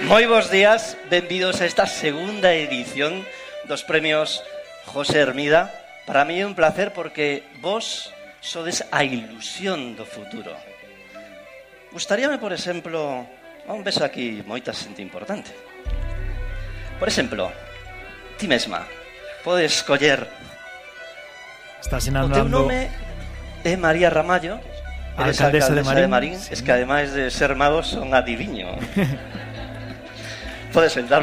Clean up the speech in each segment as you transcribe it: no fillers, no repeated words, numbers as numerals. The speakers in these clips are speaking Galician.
Moi bons días, benvidos a esta segunda edición dos premios José Hermida. Para mí é un placer porque vos sodes a ilusión do futuro. Gustaríame, por exemplo, un beso aquí moita xente importante. Por exemplo, ti mesma podes escoller. Estás O teu inaugurando nome é María Ramallo, eres alcaldesa de Marín. Sí. Es que ademais de ser magos son adiviño. Podes sentar.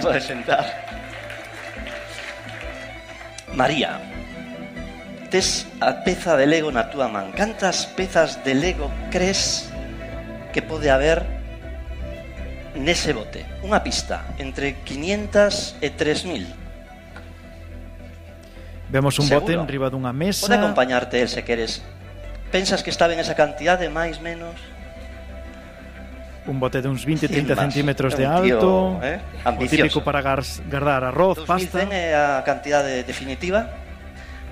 María, tes a peza de Lego na túa man. Cantas pezas de Lego crees que pode haber nese bote? Unha pista, entre 500 e 3000. Vemos un bote Seguro. enriba dunha mesa. Pode acompañarte el se queres. Pensas que está ben esa cantidade, máis, menos? Un bote de uns 20-30 Más. centímetros de É un tío, alto. O ambicioso. típico para guardar arroz, 2100 pasta. é a cantidade definitiva.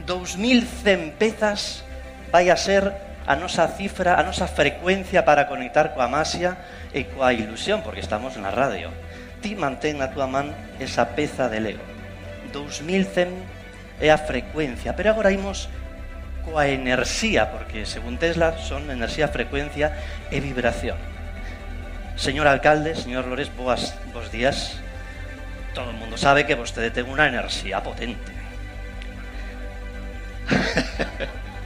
2100 pezas vai a ser a nosa cifra, a nosa frecuencia para conectar coa masia e coa ilusión, porque estamos na radio. Ti mantén na túa man esa peza de Lego. 2100 é a frecuencia, pero agora imos coa enerxía, porque según Tesla son enerxía, frecuencia e vibración. Señor alcalde, señor Lores, bos días. Todo el mundo sabe que vostede ten unha enerxía potente.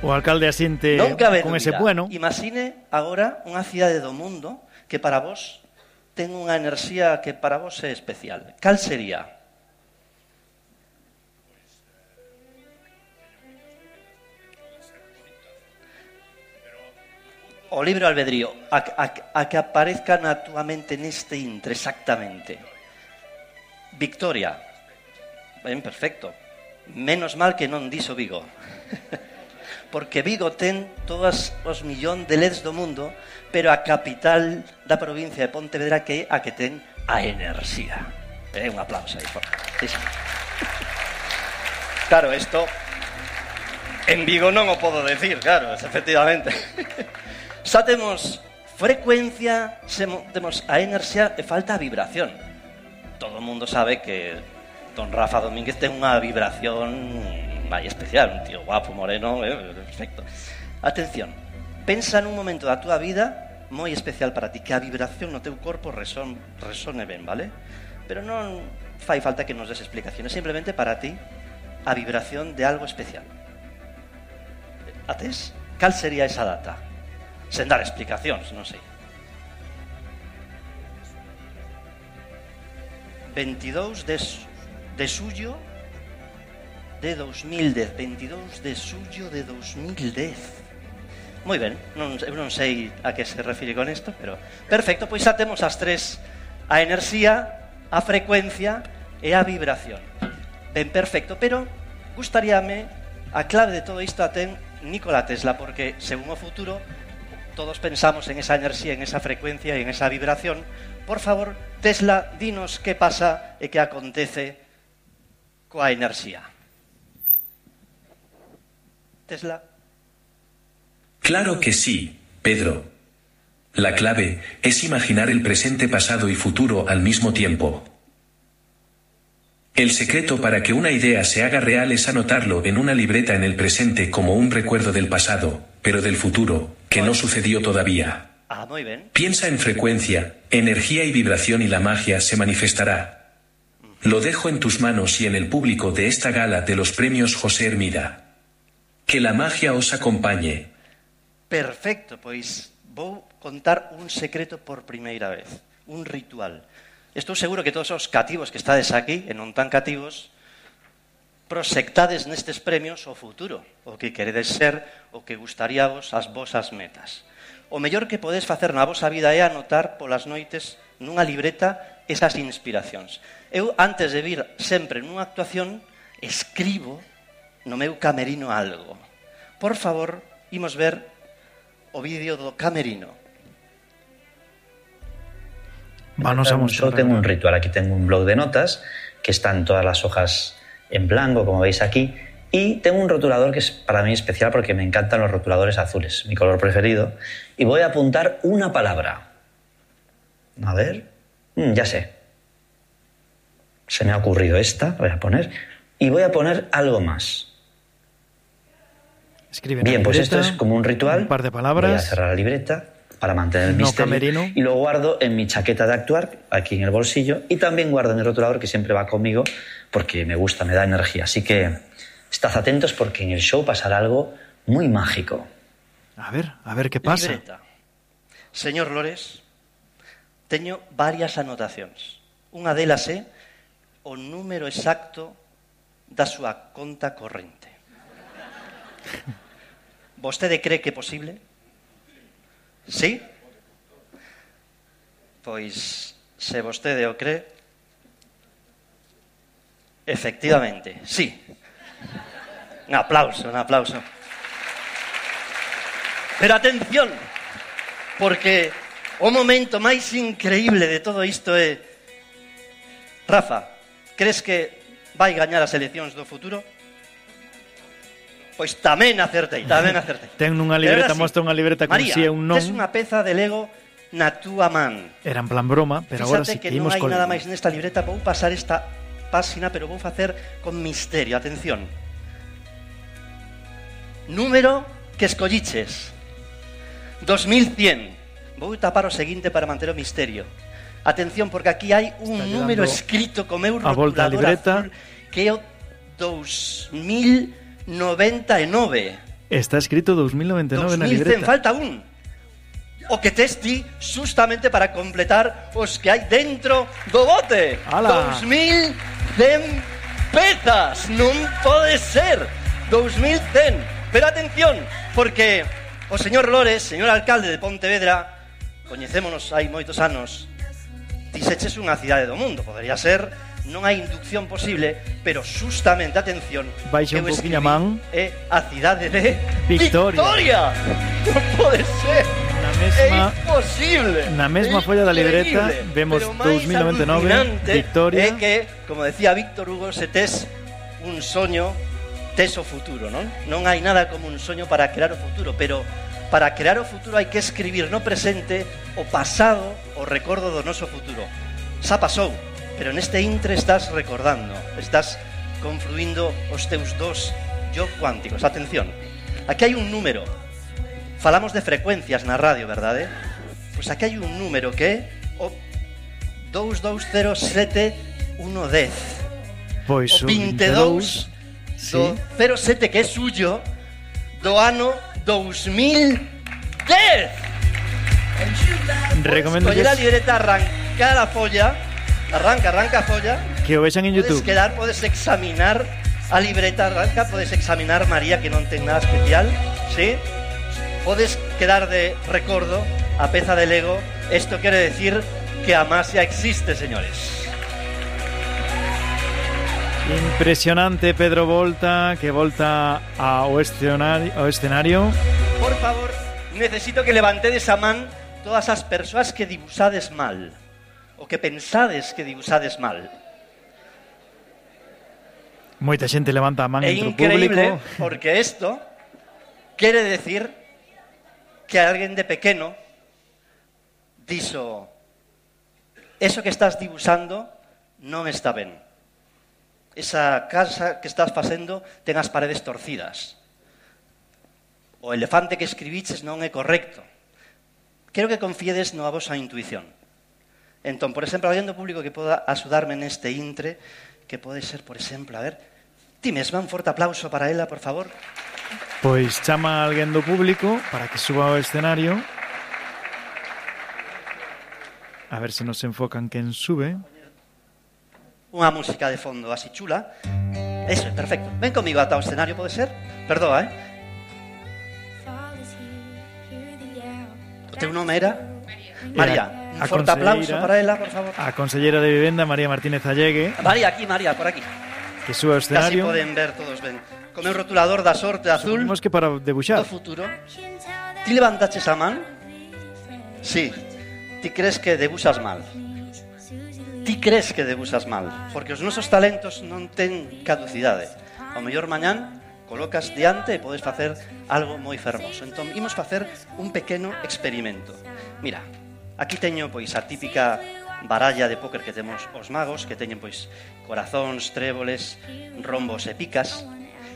O alcalde asiente Non cabe con dúbida. ese bueno. Imagine agora unha cidade do mundo que para vos ten unha enerxía que para vos é especial. Cal sería? O libre albedrío, a que aparezca na túa mente neste intre, exactamente. Victoria. Ben, perfecto. Menos mal que non dixo Vigo. Porque Vigo ten todos os millón de LEDs do mundo, pero a capital da provincia de Pontevedra que é a que ten a enerxía. Un aplauso aí. Sí, sí. Claro, isto en Vigo non o podo decir, claro, efectivamente. Xa temos frecuencia, temos a enerxía e falta a vibración. Todo o mundo sabe que don Rafa Domínguez ten unha vibración moi especial, un tío guapo, moreno, perfecto. Atención, pensa nun momento da túa vida moi especial para ti, que a vibración no teu corpo resone ben, vale? Pero non fai falta que nos des explicaciones, simplemente para ti a vibración de algo especial. Atés? Cal sería esa data? Sen dar explicacións, non sei. 22 de xullo de 2010. 22 de xullo de 2010. Moi ben, eu non sei a que se refire con isto, pero perfecto, pois xa temos as tres: a enerxía, a frecuencia e a vibración. Ben, perfecto, pero gustaríame a clave de todo isto a ten Nikola Tesla, porque según o futuro todos pensamos en esa enerxía, en esa frecuencia e en esa vibración. Por favor, Tesla, dinos que pasa e que acontece coa enerxía. Tesla. Claro que sí, Pedro. La clave es imaginar el presente, pasado y futuro al mismo tiempo. El secreto para que una idea se haga real es anotarlo en una libreta en el presente como un recuerdo del pasado, pero del futuro, que no sucedió todavía. Muy bien. Piensa en frecuencia, energía y vibración y la magia se manifestará. Lo dejo en tus manos y en el público de esta gala de los premios José Hermida. Que la magia os acompañe. Perfecto, pois vou contar un secreto por primeira vez, un ritual. Estou seguro que todos os cativos que estades aquí, e non tan cativos, proxectades nestes premios o futuro, o que queredes ser, o que gustaríavos, as vosas metas. O mellor que podes facer na vosa vida é anotar polas noites nunha libreta esas inspiracións. Eu, antes de vir sempre nunha actuación, escribo no meu camerino algo. Por favor, imos ver o vídeo do camerino. Yo tengo un ritual, aquí tengo un bloc de notas que están todas las hojas en blanco, como veis aquí, y tengo un rotulador que es para mí especial porque me encantan los rotuladores azules, mi color preferido, y voy a apuntar una palabra. A ver, ya sé, Se me ha ocurrido esta, voy a poner, y voy a poner algo más. Escribe bien, pues esto es como un ritual. Un par de palabras. Voy a cerrar la libreta para mantener el misterio. Camerino. Y lo guardo en mi chaqueta de actuar, aquí en el bolsillo, y también guardo en el rotulador, que siempre va conmigo, porque me gusta, me da energía. Así que estad atentos porque en el show pasará algo muy mágico. A ver qué pasa. Libreta. Señor Lores, teño varias anotacións. Unha delas é o número exacto da súa conta corrente. Vostede cree que é posible? Sí? Pois, se vostede o cree, efectivamente, sí. Un aplauso, un aplauso. Pero atención, porque o momento máis increíble de todo isto é... Rafa, crees que vai gañar as eleccións do futuro? Pois tamén acertei. Ten unha libreta, mostra unha libreta con María, si e un non. tes unha peza de Lego na túa man. Era en plan broma, pero agora Fíxate sí que que non imos hai con nada máis nesta libreta. Vou pasar esta páxina, pero vou facer con misterio. Atención. Número que escolliches. 2100. Vou tapar o seguinte para manter o misterio. Atención, porque aquí hai un número escrito co meu rotulador azul, que é o 2099. Está escrito 2099 na libreta. Falta un. O que tes ti justamente para completar os que hai dentro do bote. ¡Hala! 2100 pezas. Non pode ser. 2100. Pero atención, porque o señor Lores, señor alcalde de Pontevedra, coñecémonos hai moitos anos, dixeches unha cidade do mundo. Podería ser, non hai inducción posible, pero justamente, atención, Baixe un poquinho a man. É a cidade de Victoria. Non pode ser. É imposible. Na mesma folla da libreta vemos 2099, Victoria. É que, como decía Víctor Hugo, se tes un soño, tes o futuro, non? Non hai nada como un soño para crear o futuro, pero para crear o futuro hai que escribir no presente o pasado, o recordo do noso futuro. Xa pasou, pero neste intre estás recordando, estás confluindo os teus dos yo cuánticos. Atención, aquí hai un número. Falamos de frecuencias na radio, verdade? Pois aquí hai un número que é o 2207110. Pois o 22 do 07, que é suyo, do ano 2010. Recomendo Coller a libreta, arrancar a folla, arranca a folla, que o vexan en YouTube. Podes examinar a libreta, arranca, podes examinar, María, que non ten nada especial, ¿sí? Podes quedar de recordo a peza de Lego. Esto quiere decir que a Masia existe, señores. Impresionante, Pedro Volta, que volta ao escenario. Por favor, necesito que levantedes a man todas as persoas que dibuixades mal, o que pensades que dibuixades mal. Moita xente levanta a man entre o público. É increíble, porque isto quere decir que alguén de pequeno dixo: eso que estás dibuixando non está ben. Esa casa que estás facendo ten as paredes torcidas. O elefante que escribiches non é correcto. Quero que confiedes na vosa intuición. Entón, por exemplo, alguén do público que poda axudarme neste intre, que pode ser, por exemplo, a ver, ti mesma, un forte aplauso para ela, por favor. Pois chama a alguén do público para que suba ao escenario. A ver se nos enfocan quen sube. Unha música de fondo así chula. Eso, perfecto. Ven comigo ata o escenario, pode ser? Perdoa, O teu nome era? María. Un forte aplauso para ela, por favor. A conselleira de Vivenda, María Martínez Allegue. María, aquí, María, por aquí. Que suba ao escenario. Casi poden ver todos ben. Con meu rotulador da sorte azul. Supimos que para debuxar. Do futuro. Ti levantaches a man? Sí. Ti crees que debuxas mal. Ti crees que debuxas mal, porque os nosos talentos non ten caducidade. Ao mellor mañán colocas diante e podes facer algo moi fermoso. Entón, imos facer un pequeno experimento. Mira, aquí teño pois a típica baralla de póker que temos os magos, que teñen pois corazóns, tréboles, rombos e picas.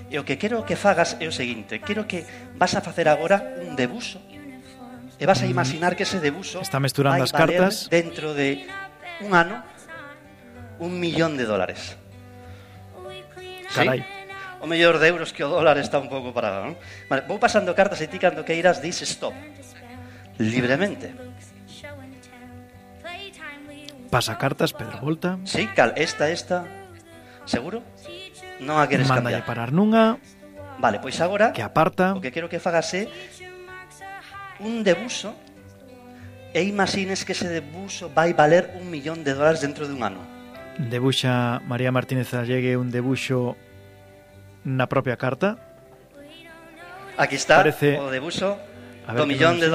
E o que quero que fagas é o seguinte: quero que vas a facer agora un debuxo e vas a imaginar que ese debuxo está mesturando vai as cartas dentro de un ano $1.000.000. Carai. ¿Sí? O mellor de euros que o dólar está un pouco parado, non? Vale, vou pasando cartas e ti cando que irás dis stop. Libremente. Pasa cartas, Pedro Volta. Sí, cal, esta. Seguro? Non a queres Mándalle cambiar. parar nunha. Vale, pois agora Que aparta. o que quero que fagas é un debuxo e imagines que ese debuxo vai valer $1.000.000 dentro de un ano. Debuxa María Martínez Allegue un debuxo na propia carta. Aquí está Parece... o debuxo A ver, do $1.000.000.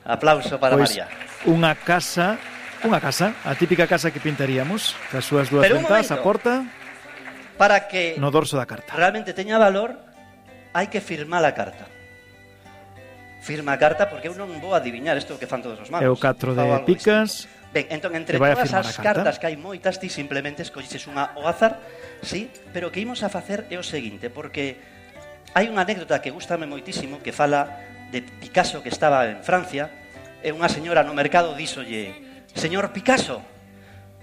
Aplauso para pois, María. Unha casa, a típica casa que pintaríamos, cas súas dúas Pero un ventás, a momento. porta, Para que no dorso da carta. realmente teña valor, hai que firmar a carta. Firma a carta porque eu non vou adivinar isto que fan todos os magos. É o 4 de Fao algo picas. distinto. Ben, entón, entre que vai a todas firmar as a carta. cartas que hai moitas, ti simplemente escolliches unha ao azar, sí, pero o que imos a facer é o seguinte, porque hai unha anécdota que gustame moitísimo que fala de Picasso que estaba en Francia e unha señora no mercado díxolle: señor Picasso,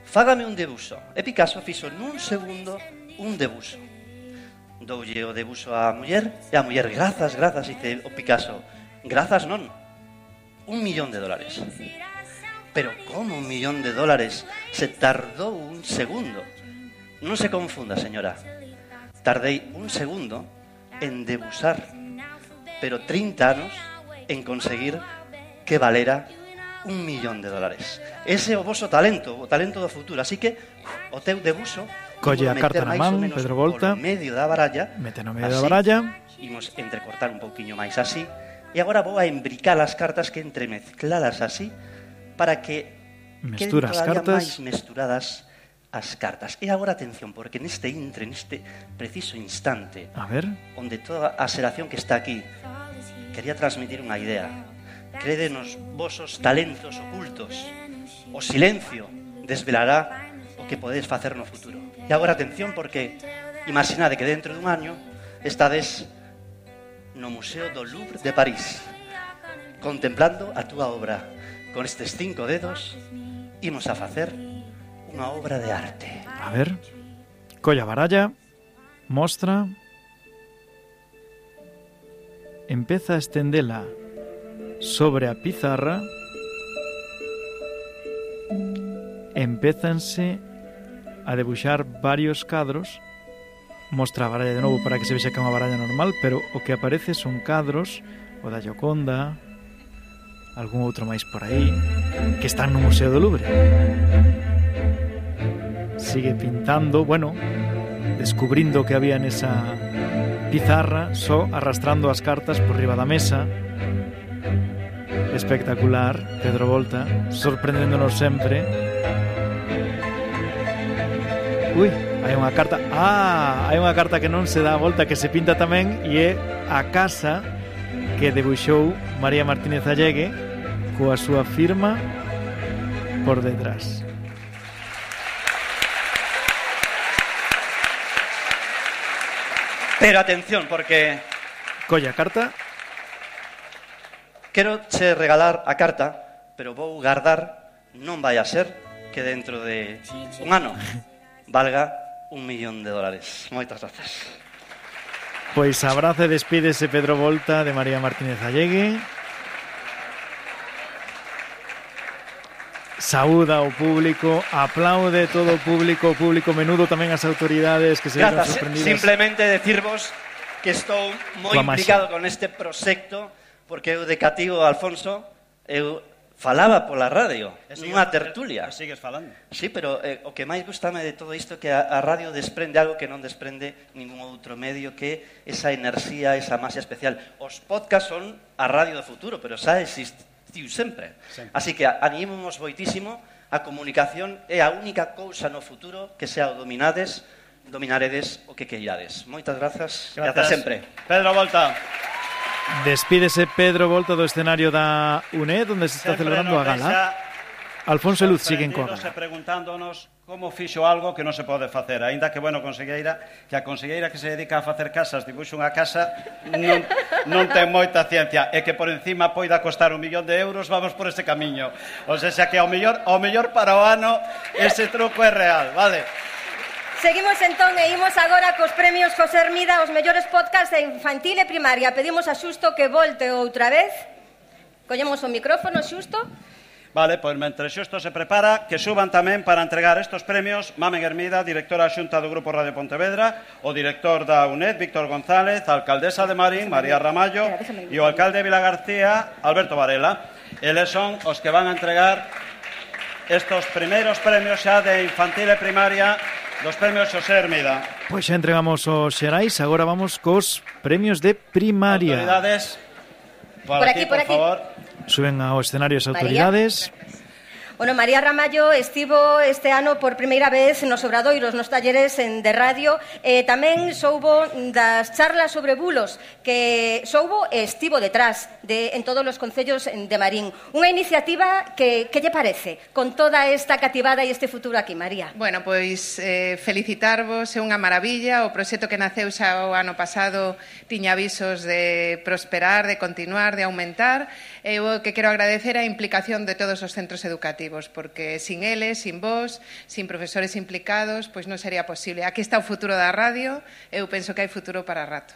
fágame un debuxo. E Picasso fixo nun segundo un debuxo. Doulle o debuxo á muller e a muller, grazas, e dice o Picasso, grazas non, $1.000.000. Pero como $1.000.000 se tardou un segundo? Non se confunda, señora. Tardei un segundo en debuxar, pero 30 anos en conseguir que valera $1.000.000. Ese é o voso talento, o talento do futuro. Así que o teu debuxo Colle a carta na man, Pedro Volta. Polo medio da baralla. Mete no medio da baralla. Imos entrecortar un pouquiño máis así. E agora vou a embricar as cartas, que entremezclalas así, para que Mestura as queden todavía cartas. máis mesturadas as cartas. E agora atención, porque neste preciso instante, A ver, onde toda a xeración que está aquí quería transmitir unha idea, crede nos vosos talentos ocultos, o silencio desvelará o que podedes facer no futuro. E agora atención, porque imaginade que dentro dun año estades no Museo do Louvre de París, contemplando a túa obra. Con estes 5 dedos imos a facer unha obra de arte. a ver. Colle a baralla, mostra. Empeza a estendela sobre a pizarra. Empézanse a debuxar varios cadros. Mostra a baralla de novo para que se vexa que é unha baralla normal, pero o que aparece son cadros, o da Gioconda, algún outro máis por aí, que están no Museo do Louvre. Sigue pintando, bueno, descubrindo o que había nesa pizarra, só arrastrando as cartas por riba da mesa. Espectacular, Pedro Volta, sorprendéndonos sempre. Ui, hai unha carta. Hai unha carta que non se dá a volta, que se pinta tamén, e é a casa que debuxou María Martínez Allegue coa súa firma por detrás. Pero atención, porque Colle a carta. quero che regalar a carta, pero vou guardar, non vai a ser que dentro de un ano valga $1.000.000. Moitas grazas. Pois abraza e despídese Pedro Volta de María Martínez Allegue. Saúda ao público, aplaude todo o público menudo, tamén as autoridades que se viron Grazas, sorprendidas. simplemente decirvos que estou moi Coa maxia. implicado con este proxecto, porque eu de cativo, Alfonso, eu falaba pola radio, nunha tertulia. E sigues falando. Sí, pero o que máis gustame de todo isto é que a radio desprende algo que non desprende ningún outro medio, que esa enerxía, esa maxia especial. Os podcasts son a radio do futuro, pero xa existiu sempre. Así que animemos moitísimo, a comunicación é a única cousa no futuro que xa o dominaredes o que queirades. Moitas grazas. Grazas sempre. Pedro Volta. Despídese Pedro Volta do escenario da UNED, onde se está Sempre celebrando a nos gala. deixa Alfonso e Luz siguen coa gala. Preguntándonos como fixo algo que non se pode facer. Aínda que, bueno, que a conselleira que se dedica a facer casas dibuxe unha casa non ten moita ciencia. E que por encima poida costar 1 millón de euros, vamos por ese camiño. O sea, que ao mellor para o ano ese truco é real, vale? Seguimos entón e imos agora cos premios José Hermida, os mellores podcasts de infantil e primaria. Pedimos a Xusto que volte outra vez. Collemos o micrófono, Xusto. Vale, pois mentre Xusto se prepara, que suban tamén para entregar estos premios Mamen Hermida, directora xunta do Grupo Radio Pontevedra, o director da UNED, Víctor González, a alcaldesa de Marín, María Ramallo, e o alcalde de Vilagarcía, Alberto Varela. Eles son os que van a entregar estos primeiros premios xa de infantil e primaria dos premios José Hermida. Pois xa entregamos os xerais, agora vamos cos premios de primaria. Autoridades, por aquí, por favor. Suben ao escenario as autoridades. Bueno, María Ramallo estivo este ano por primeira vez nos obradoiros, nos talleres de radio, tamén soubo das charlas sobre bulos, que soubo e estivo detrás en todos os concellos de Marín. Unha iniciativa que lle parece con toda esta cativada e este futuro aquí, María? Bueno, pois felicitarvos, é unha maravilla. O proxecto que naceu xa o ano pasado tiña avisos de prosperar, de continuar, de aumentar. Eu que quero agradecer a implicación de todos os centros educativos, porque sin eles, sin vos, sin profesores implicados, pois non sería posible. Aquí está o futuro da radio, eu penso que hai futuro para rato.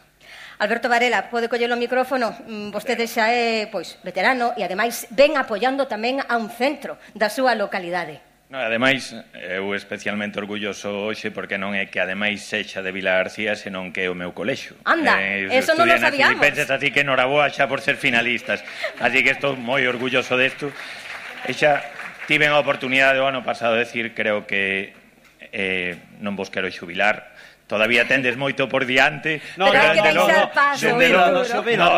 Alberto Varela, pode coller o micrófono, vostede xa é veterano e ademais ven apoiando tamén a un centro da súa localidade. No, ademais, eu especialmente orgulloso hoxe porque non é que ademais sexa de Vilagarcía, senón que é o meu colexio. Anda, eso non lo sabíamos. Filipenses, así que enhoraboa xa por ser finalistas. Así que estou moi orgulloso desto. E xa tiven a oportunidade o ano pasado de decir, creo que non vos quero xubilar. Todavía tendes moito por diante. No, pero hai que deixar paso.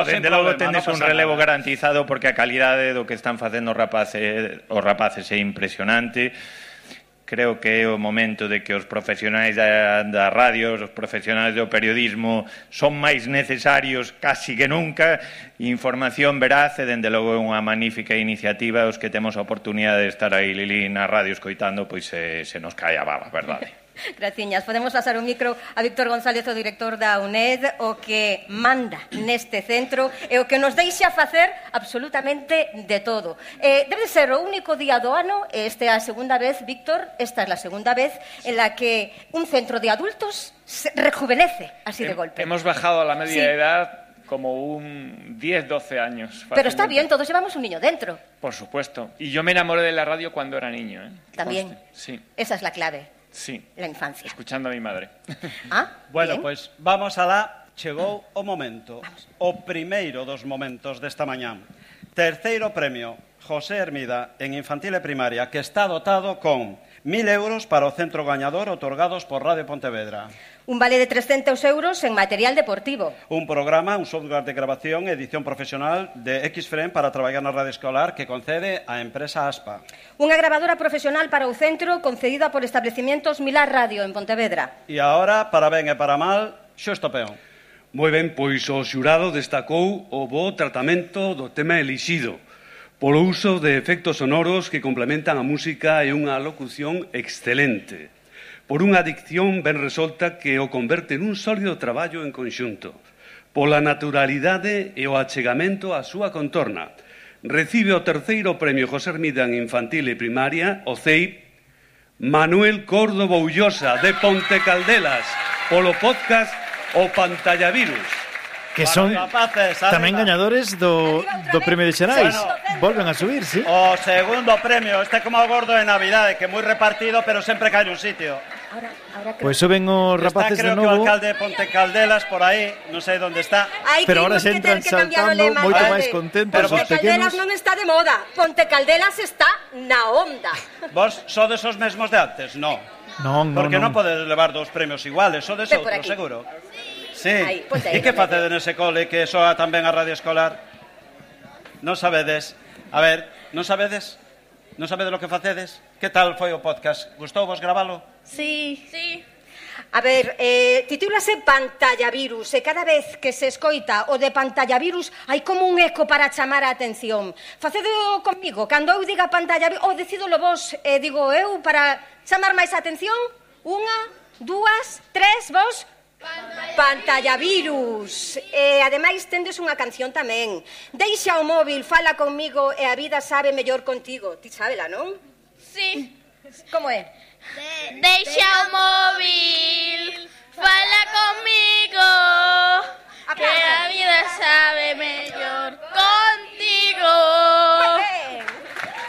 Dende logo tendes un relevo garantizado porque a calidade do que están facendo os rapaces é impresionante. Creo que é o momento de que os profesionais da radio, os profesionais do periodismo son máis necesarios casi que nunca. Información veraz e dende logo é unha magnífica iniciativa. Os que temos a oportunidade de estar aí, Lili, na radio escoitando, pois se nos cae a baba, verdade? Graciñas. Podemos pasar o micro a Víctor González, o director da UNED, o que manda neste centro e o que nos deixa facer absolutamente de todo. Debe ser o único día do ano, esta é a segunda vez, Víctor, esta é a segunda vez en la que un centro de adultos se rejuvenece así de golpe. Hemos bajado a la media edad como un 10-12 años. Fácilmente. Pero está bien, todos llevamos un niño dentro. Por supuesto. Y yo me enamoré de la radio cuando era niño. También. Sí. Esa es la clave. Sí. La infancia. Escuchando a mi madre. Bueno, pois vamos alá. Chegou o momento. O primeiro dos momentos desta mañán. Terceiro premio, José Hermida, en infantil e primaria, que está dotado con 1.000 euros para o centro gañador otorgados por Radio Pontevedra. Un vale de 300 euros en material deportivo. Un programa, un software de grabación e edición profesional de Xframe para traballar na radio escolar que concede a empresa ASPA. Unha grabadora profesional para o centro concedida por establecimientos Milar Radio en Pontevedra. E agora, para ben e para mal, Xusto Peón. Moi ben, pois o xurado destacou o bo tratamento do tema elixido polo uso de efectos sonoros que complementan a música e unha locución excelente. Por unha dicción ben resolta que o converte nun sólido traballo en conxunto. Pola naturalidade e o achegamento á súa contorna. Recibe o terceiro premio José Hermida en infantil e primaria, o CEIP, Manuel Córdoba Ullosa, de Ponte Caldelas, polo podcast O Pantallavirus. Que son tamén gañadores do premio de Xerais. Volven a subir, sí. O segundo premio, este como o gordo de Navidade, que é moi repartido, pero sempre cae un sitio. Pois suben os rapaces de novo. Creo que o alcalde de Ponte Caldelas por aí, non sei onde está. Pero ahora se entran saltando moito máis contentos os pequenos. Ponte Caldelas non está de moda, Ponte Caldelas está na onda. Vos sodes os mesmos de antes? Non. Non. Porque non podes levar dos premios iguales, sodes outros, seguro. Sí. E que facedes nese cole que soa tamén a radio escolar? Non sabedes? A ver, non sabedes? Non sabedes lo que facedes? Que tal foi o podcast? Gustou vos gravalo? Sí. A ver, titúlase Pantallavirus, e cada vez que se escoita o de Pantallavirus hai como un eco para chamar a atención. Facedo comigo, cando eu diga Pantallavirus, ou decidolo vos, digo eu, para chamar máis a atención. 1, 2, 3, vos... Pantallavirus. E ademais tendes unha canción tamén. Deixa o móvil, fala comigo e a vida sabe mellor contigo. Ti sábela, non? Sí. Como é? Deixa o móvil, fala comigo, que a vida sabe mellor contigo.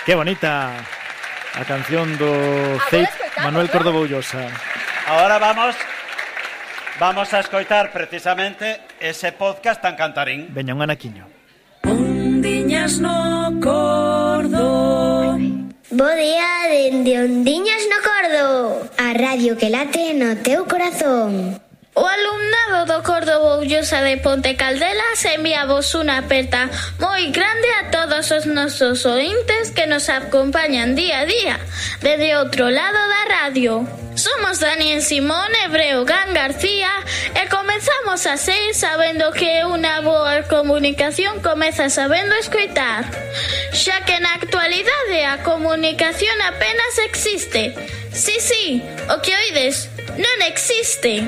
Que bonita a canción do Ceip Manuel Córdoba Ullosa. Ahora vamos a escoitar precisamente ese podcast tan cantarín. Veña un anaquiño. Ondiñas no cordo. Bo día dende Ondiñas no Cordo, a radio que late no teu corazón. O alumnado do Córdoba Ullosa de Ponte Caldelas enviamos unha aperta moi grande a todos os nosos ointes que nos acompañan día a día desde outro lado da radio. Somos Daniel Simón e Breogán García e comezamos a ser sabendo que unha boa comunicación comeza sabendo escoitar, xa que na actualidade a comunicación apenas existe. Sí, o que oides non existe.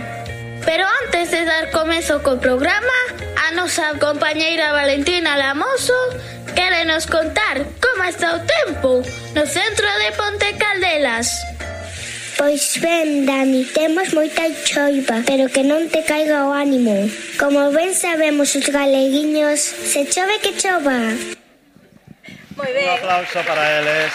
Pero antes de dar comezo co programa, a nosa compañeira Valentina Lamoso quere nos contar como está o tempo no centro de Ponte Caldelas. Pois ben, Dani, temos moita choiva, pero que non te caiga o ánimo. Como ben sabemos os galeguiños, se chove que chova. Moi ben. Un aplauso para eles.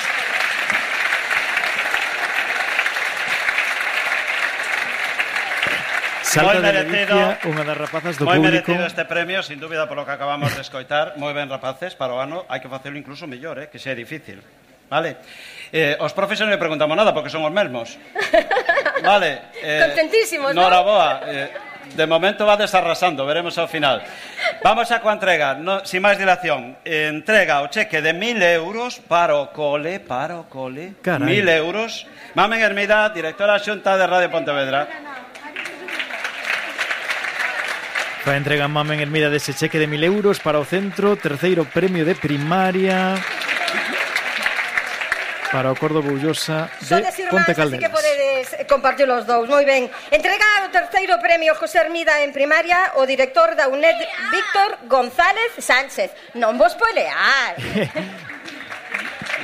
Salta de Galicia, unha das rapazas do público. Moi merecido este premio, sin dúbida, polo que acabamos de escoitar. Moi ben, rapaces, para o ano hai que facelo incluso mellor, que xa é difícil. Vale? Os profes non me preguntamos nada porque son os mesmos. Vale? Contentísimos, non? Noraboa. De momento va desarrasando, veremos ao final. Vamos a coa entrega, sin máis dilación. Entrega o cheque de 1.000 euros para o cole. 1.000 euros. Mamen Hermida, directora xunta de Radio Pontevedra. Fa entrega Mamen Hermida dese cheque de 1.000 euros para o centro, terceiro premio de primaria para o Córdoba Ullosa de Ponte Caldelas. Así que podedes compartir os dous. Moi ben. Entrega o terceiro premio José Hermida en primaria o director da UNED, Víctor González Sánchez. Non vos polear.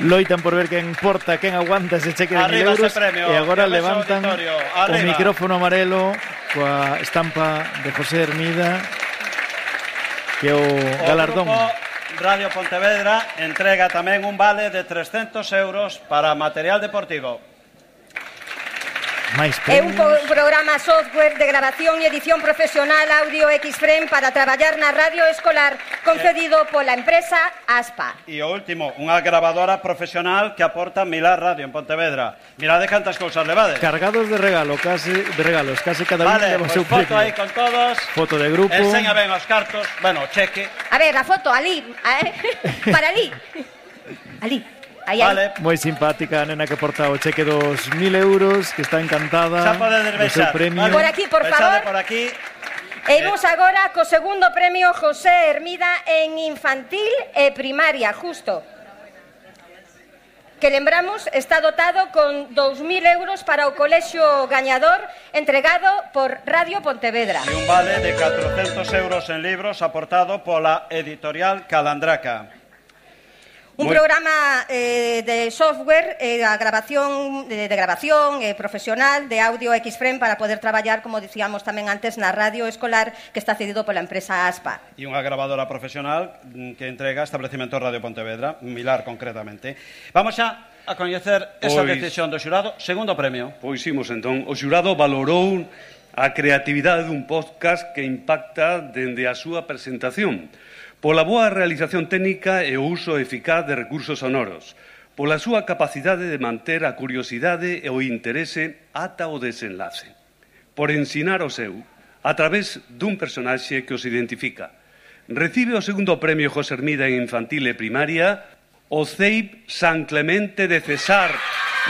Loitan por ver quen porta, quen aguanta ese cheque de 1.000 euros premio, e agora levantan o micrófono amarelo coa estampa de José Hermida, que é o galardón. Radio Pontevedra entrega tamén un vale de 300 euros para material deportivo. É un programa software de grabación e edición profesional Audio Xframe para traballar na radio escolar concedido pola empresa ASPA. E o último, unha grabadora profesional que aporta Milar Radio en Pontevedra. Mirade cantas cousas levades. Cargados de regalos, case cada un leva o seu premio. Foto aí con todos. Foto de grupo. Enseña ben os cartos, bueno, cheque. A ver, a foto, ali, para ali. Ali. Vale. Moi simpática a nena que porta o cheque dos 1.000 euros, que está encantada do seu premio. Por aquí, por favor. Por aquí. E imos agora co segundo premio José Hermida en infantil e primaria, justo. Que lembramos, está dotado con 2.000 euros para o colexio gañador entregado por Radio Pontevedra. E un vale de 400 euros en libros aportado pola editorial Calandraca. Un programa de software a grabación de grabación profesional de Audio Xframe para poder traballar, como dicíamos tamén antes, na radio escolar que está cedido pola empresa ASPA. E unha grabadora profesional que entrega establecemento Radio Pontevedra, Milar concretamente. Vamos xa a coñecer esa decisión do xurado. Segundo premio. Pois imos entón. O xurado valorou a creatividade dun podcast que impacta dende a súa presentación, pola boa realización técnica e o uso eficaz de recursos sonoros, pola súa capacidade de manter a curiosidade e o interese ata o desenlace, por ensinar o seu, a través dun personaxe que os identifica. Recibe o segundo premio José Hermida en infantil e primaria o Ceip San Clemente de Cesar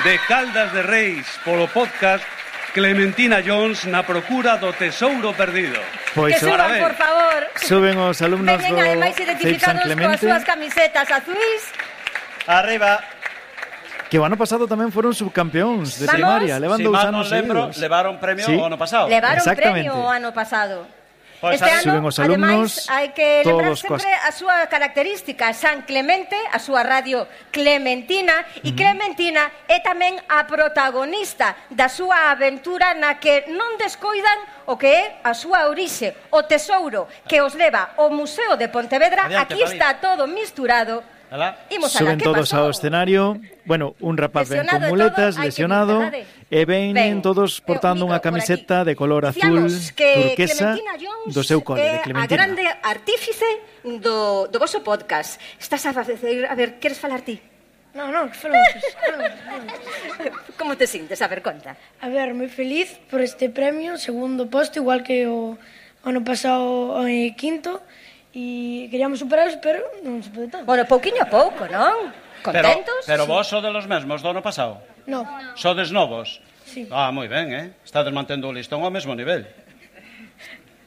de Caldas de Reis polo podcast Clementina Jones na procura do tesouro perdido. Que suban, por favor. Suben os alumnos Veñen, do ademais, CEIP San identificados coas Clemente, súas camisetas azuis. Arriba. que o ano pasado tamén foron subcampeóns de Vamos. primaria, levan Si 2 mal non anos lembro, seguidos. levaron premio Sí. o ano pasado. Levaron Exactamente. premio o ano pasado. Pois Este ano, suben os alumnos, ademais, hai que lembrar todos sempre a súa característica. San Clemente, a súa radio Clementina, e Clementina é tamén a protagonista da súa aventura na que non descoidan o que é a súa orixe, o tesouro que os leva ao Museo de Pontevedra. Adiante, Aquí Fabi. está todo misturado. Alá. Imos alá, Suben que todos pasou? ao escenario. Bueno, un rapaz ven Lesionado con e muletas, todo, hai que lesionado, vir, e ven todos portando micro unha por camiseta de color azul Dicíamos que turquesa Clementina Jones do seu cole, de é a Clementina. grande artífice do voso podcast. Estás a ver, queres falar ti? No, falamos. Como te sintes? A ver, conta. A ver, moi feliz por este premio, segundo posto, igual que o ano pasado quinto, e queríamos superaros, pero non se pode tanto. Bueno, pouquiño a pouco, non? Contentos? Pero vos sodes os mesmos do ano pasado? No. Sodes novos? Sí. Ah, moi ben, Estades mantendo o listón ao mesmo nivel.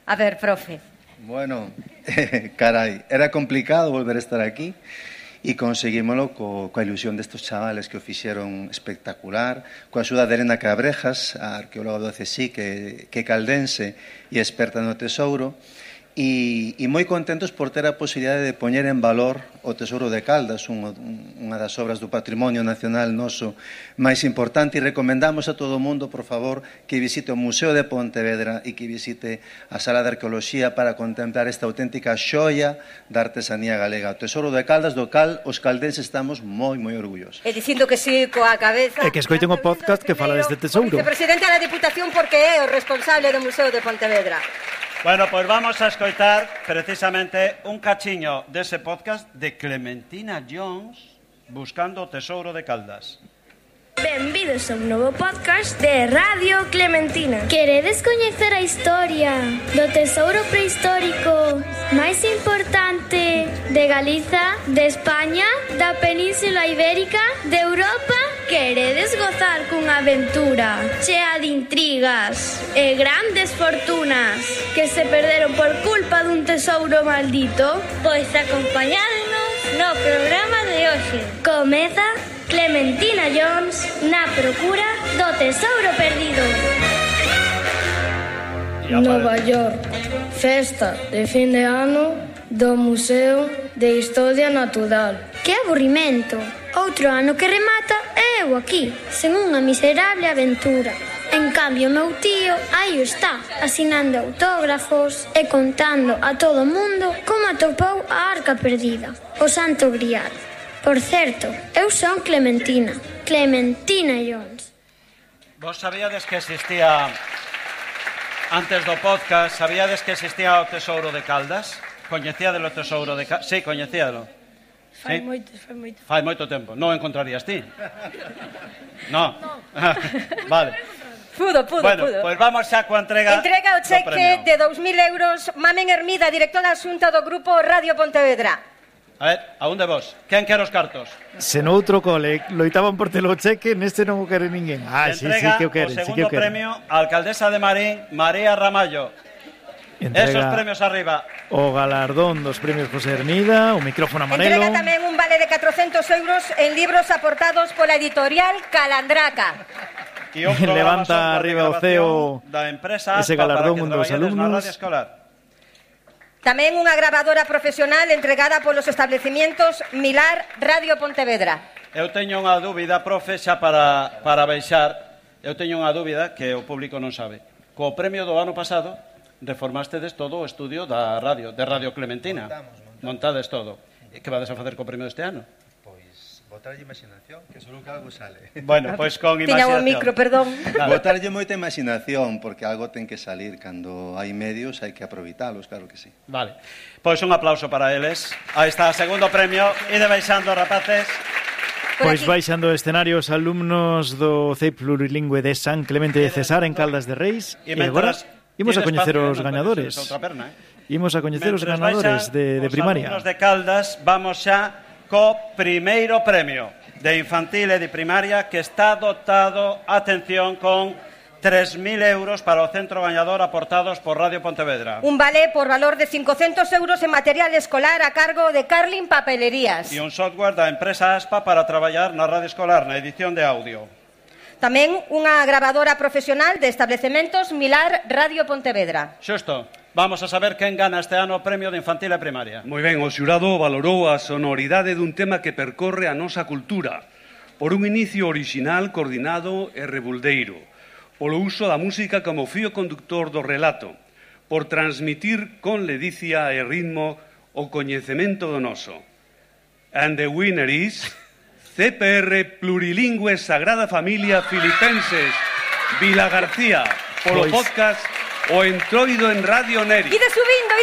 A ver, profe. Bueno, carai, era complicado volver a estar aquí e conseguímoslo coa ilusión destes chavales que o fixeron espectacular, coa axuda de Elena Cabrejas, a arqueóloga do CSI, que é caldense e experta no tesouro, e moi contentos por ter a posibilidade de poñer en valor o Tesouro de Caldas, unha das obras do patrimonio nacional noso máis importante, e recomendamos a todo o mundo, por favor, que visite o Museo de Pontevedra e que visite a Sala de Arqueoloxía para contemplar esta auténtica xoia da artesanía galega, o Tesouro de Caldas, do cal os caldenses estamos moi orgullosos. E dicindo que sí coa cabeza. E que escoiten o podcast que fala deste tesouro. Vicepresidente da Diputación, porque é o responsable do Museo de Pontevedra. Bueno, pois vamos a escoitar precisamente un cachiño dese podcast de Clementina Jones buscando o tesouro de Caldas. Benvidos a un novo podcast de Radio Clementina. Queredes coñecer a historia do tesouro prehistórico máis importante de Galiza, de España, da Península Ibérica, de Europa? Queredes gozar cunha aventura chea de intrigas e grandes fortunas que se perderon por culpa dun tesouro maldito? Pois acompañádnos no programa de hoxe. Comeza Clementina Jones na procura do tesouro perdido. Nova York, festa de fin de ano do Museo de Historia Natural. Que aburrimento. Outro ano que remata e eu aquí, sen unha miserable aventura. En cambio, meu tío aí está, asinando autógrafos e contando a todo o mundo como atopou a arca perdida, o Santo Grial. Por certo, eu son Clementina Jones. Vos sabíades que existía, antes do podcast, sabíades que existía o tesouro de Caldas? Coñecíades o tesouro de Caldas? Sí, coñecíadelo. Fai Sí? moito. Fai moito tempo. Non o encontrarías ti? No. Vale. Pudo. Bueno, pois vamos xa coa entrega Entrega o do cheque premio. de 2.000 euros. Mamen Hermida, directora xunta do Grupo Radio Pontevedra. A ver, a onde vos? Quen quere os cartos? Se no outro cole loitaban por telo cheque, neste non o quere ninguén. Sí Entrega que o queren, o sí que segundo o queren. premio á alcaldesa de Marín, María Ramallo. Esos Entrega premios arriba. o galardón dos premios José Hermida, o micrófono amarelo. Entrega tamén un vale de 400 euros en libros aportados pola editorial Calandraca. E un programa Levanta software de arriba o grabación CEO da empresa ese ASPA galardón para que un dos traballades na alumnos. radio escolar. Tamén unha grabadora profesional entregada polos establecimientos Milar Radio Pontevedra. Eu teño unha dúbida, profe, xa para baixar. Eu teño unha dúbida que o público non sabe. Co premio do ano pasado reformastedes todo o estudio da radio, de Radio Clementina. Montades todo. E que vades a facer co premio deste ano? Botarlle imaginación, que solo que algo sale. Bueno, pois con Tiña imaginación. o micro, perdón. Botarlle moita imaginación, porque algo ten que salir. Cando hai medios hai que aproveitalos, claro que sí. Vale. Pois un aplauso para eles. Aí está o segundo premio. Ide baixando, rapaces. Pois baixando o escenario os alumnos do CEIP plurilingüe de San Clemente de Cesar en Caldas de Reis. E agora imos a coñecer os gañadores. Perna, Imos a coñecer os ganadores de primaria. Os alumnos de Caldas, vamos xa co primeiro premio de infantil e de primaria, que está dotado, atención, con 3.000 euros para o centro gañador aportados por Radio Pontevedra. Un vale por valor de 500 euros en material escolar a cargo de Carlin Papelerías. E un software da empresa Aspa para traballar na radio escolar, na edición de audio. Tamén unha grabadora profesional de Establecementos Milar Radio Pontevedra. Xusto. Vamos a saber quen gana este ano o premio de infantil e primaria. Moi ben, o xurado valorou a sonoridade dun tema que percorre a nosa cultura, por un inicio orixinal, coordinado e rebuldeiro, polo uso da música como fío conductor do relato, por transmitir con ledicia e ritmo o coñecemento do noso. And the winner is CPR Plurilingüe Sagrada Familia Filipenses Vilagarcía, polo podcast O Entroido en Radio Neri. Ide subindo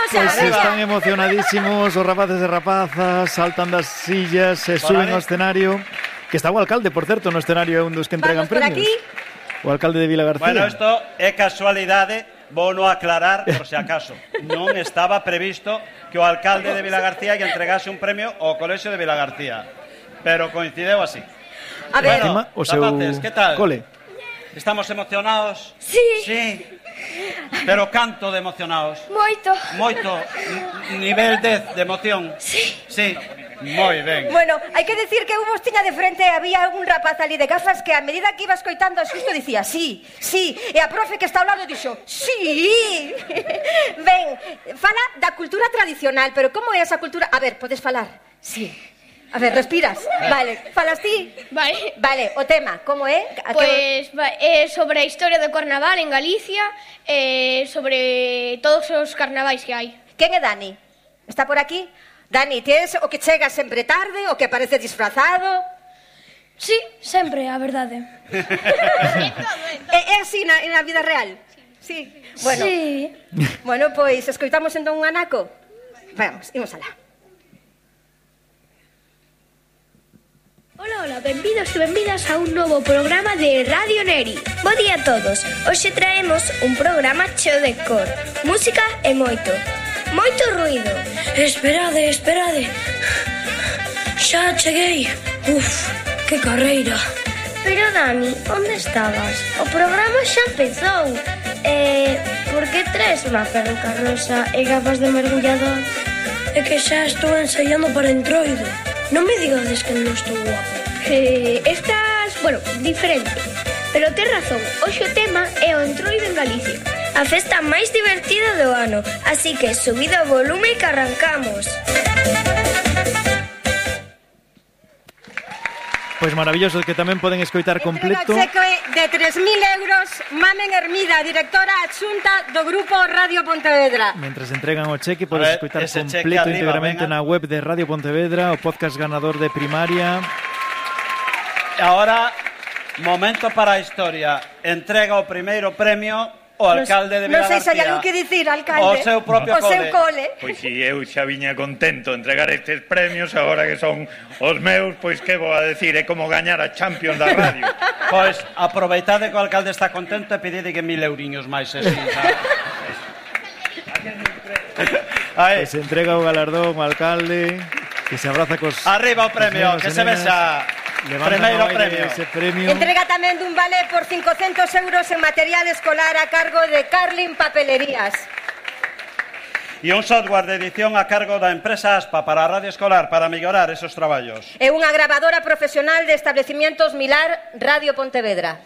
xa. Pois están emocionadísimos os rapaces e rapazas, saltan das sillas, se suben ao escenario, que está o alcalde, por certo, no escenario é un dos que entregan premios. Vamos por aquí. O alcalde de Vilagarcía. Bueno, isto é casualidade, vou no aclarar por se acaso. Non estaba previsto que o alcalde de Vilagarcía lle entregase un premio ao Colexio de Vilagarcía, pero coincideu así. A ver, bueno, o seu rapaces, que tal? cole. Estamos emocionados? Sí. Sí. Pero canto de emocionados? Moito. Moito. Nivel 10 de emoción? Sí. Sí. Moi ben. Bueno, hai que decir que eu vos tiña de frente, había un rapaz ali de gafas que a medida que iba escoitando xusto dicía sí, sí, e a profe que está ao lado dixo sí. Ben, fala da cultura tradicional, pero como é esa cultura? A ver, podes falar? Sí. A ver, respiras. Vale, falas ti? Vale, o tema, como é? Pois sobre a historia do carnaval en Galicia, sobre todos os carnavais que hai. Quen é Dani? Está por aquí? Dani, tes o que chega sempre tarde, o que aparece disfrazado? Sí, sempre, a verdade. É así na vida real? Sí. Bueno, sí. Bueno, pois escoitamos entón un anaco. Vamos, imos alá. Ola, benvidos e benvidas a un novo programa de Radio Neri. Bo día a todos. Hoxe traemos un programa cheo de cor, música e moito ruido. Esperade. Xa cheguei. Uf, que carreira. Pero Dani, onde estabas? O programa xa empezou. Por que traes unha peruca rosa e gafas de mergullador? É que xa estou ensaiando para Entroido. Non me digades que non estou guapo. Estás, diferente. Pero tes razón, hoxe o tema é o Entroido en Galicia. A festa máis divertida do ano. Así que subido o volume que arrancamos. Pois maravilloso, que tamén poden escoitar completo. Entrega cheque de 3.000 euros Mamen Hermida, directora adxunta do Grupo Radio Pontevedra. Mentras entregan o cheque, podes escoitar completo íntegramente na web de Radio Pontevedra, o podcast ganador de primaria. Ahora, momento para a historia. Entrega o primeiro premio o alcalde de Vilagarcía. Non sei se hai algo que dicir, alcalde. O seu propio cole. O seu cole. Pois si eu xa viña contento de entregar estes premios, agora que son os meus, pois que vou a decir, é como gañar a Champions da radio. Pois aproveitade que o alcalde está contento e pedide que 1.000 euriños máis se Pois entrega o galardón ao alcalde, que se abraza cos... Arriba o premio, que se vexa. Primeiro premio. Entrega tamén dun vale por 500 euros en material escolar a cargo de Carlin Papelerías. E un software de edición a cargo da empresa Aspa para a radio escolar, para mellorar esos traballos. E unha grabadora profesional de Establecementos Milar Radio Pontevedra.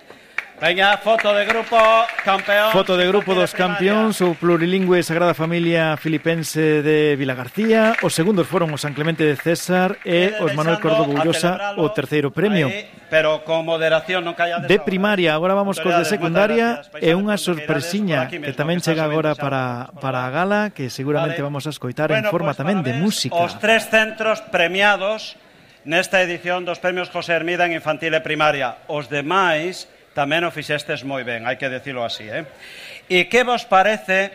Veña, foto de grupo, campeón. Foto de grupo dos campeóns, o plurilingüe Sagrada Familia Filipense de Vilagarcía. Os segundos foron o San Clemente de César e os Manuel Córdoba Ullosa, o terceiro premio. Pero con moderación, non calla de primaria, agora vamos cos de secundaria e unha sorpresiña que tamén chega agora para a gala, que seguramente vamos a escoitar en forma tamén de música. Os 3 centros premiados nesta edición dos premios José Hermida en infantil e primaria. Os demais tamén o fixestes moi ben, hai que decirlo así, E que vos parece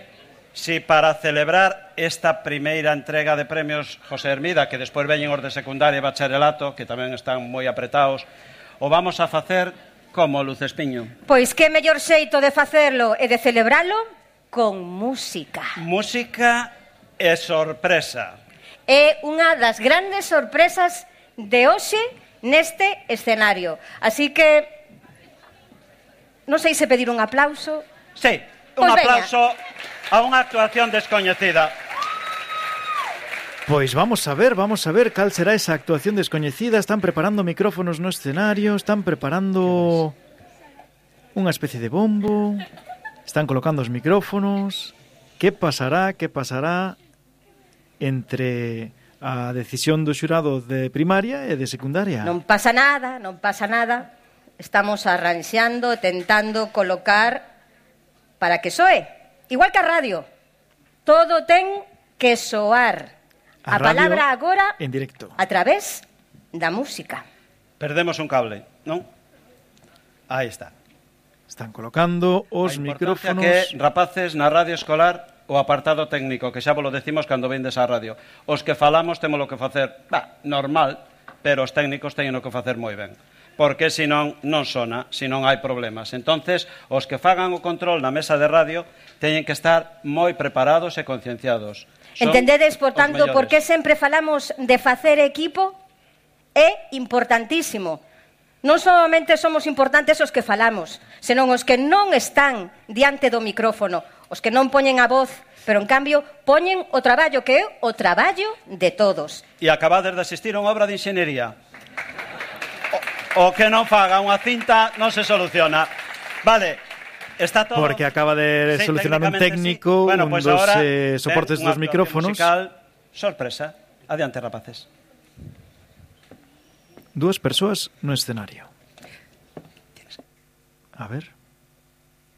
si para celebrar esta primeira entrega de premios José Hermida, que despois veñen os de secundaria e bacharelato, que tamén están moi apretados, o vamos a facer como Lucespiño? Pois que mellor xeito de facerlo e de celebralo con música. Música e sorpresa. É unha das grandes sorpresas de hoxe neste escenario. Así que non sei se pedir un aplauso. Sí, un aplauso a unha actuación descoñecida. Pois vamos a ver cal será esa actuación descoñecida. Están preparando micrófonos no escenario, están preparando unha especie de bombo, están colocando os micrófonos. Que pasará entre a decisión do xurado de primaria e de secundaria? Non pasa nada. Estamos arranxando, tentando colocar para que soe. Igual que a radio. Todo ten que soar. A palabra agora en directo. A través da música. Perdemos un cable, non? Aí está. Están colocando os micrófonos. Que, rapaces, na radio escolar, o apartado técnico, que xa vos lo decimos cando vendes á radio. Os que falamos temos lo que facer, normal, pero os técnicos teñen o que facer moi ben. Porque senón non sona, senón hai problemas. Entonces, os que fagan o control na mesa de radio teñen que estar moi preparados e concienciados. Entendedes, por tanto, por que sempre falamos de facer equipo? É importantísimo. Non solamente somos importantes os que falamos, senón os que non están diante do micrófono, os que non poñen a voz, pero en cambio poñen o traballo que é o traballo de todos. E acabades de asistir a unha obra de enxeñería. O que non faga unha cinta non se soluciona. Vale, está todo... Porque acaba de solucionar un técnico, sí. Bueno, un pues dos ahora, soportes dos micrófonos. Musical, sorpresa. Adiante, rapaces. Dúas persoas no escenario. A ver...